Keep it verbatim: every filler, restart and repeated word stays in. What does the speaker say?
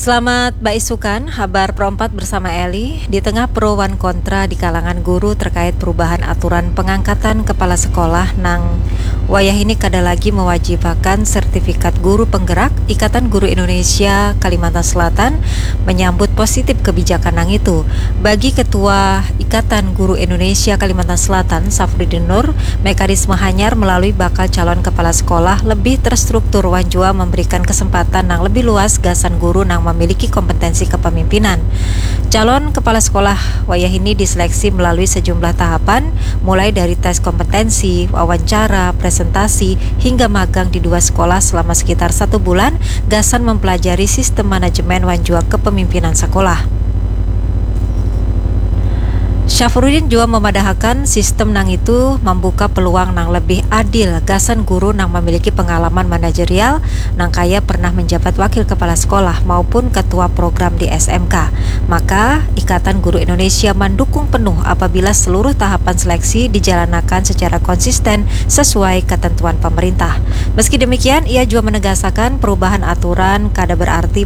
Selamat baisukan, habar perompat bersama Eli. Di tengah pro wan kontra di kalangan guru terkait perubahan aturan pengangkatan kepala sekolah nang wayah ini kada lagi mewajibakan sertifikat guru penggerak, Ikatan Guru Indonesia Kalimantan Selatan menyambut positif kebijakan nang itu. Bagi Ketua Ikatan Guru Indonesia Kalimantan Selatan, Safrudin Nur, mekanisme hanyar melalui bakal calon kepala sekolah lebih terstruktur wan jua memberikan kesempatan nang lebih luas gasan guru nang memiliki kompetensi kepemimpinan. Calon kepala sekolah wayah ini diseleksi melalui sejumlah tahapan, mulai dari tes kompetensi, wawancara, presentasi, hingga magang di dua sekolah selama sekitar satu bulan gasan mempelajari sistem manajemen wan jua kepemimpinan sekolah. Syafrudin jua memadahakan sistem nang itu membuka peluang nang lebih adil gasan guru nang memiliki pengalaman manajerial nang kaya pernah menjabat wakil kepala sekolah maupun ketua program di S M K. Maka, Ikatan Guru Indonesia mendukung penuh apabila seluruh tahapan seleksi dijalanakan secara konsisten sesuai ketentuan pemerintah. Meski demikian, ia jua menegasakan perubahan aturan kada berarti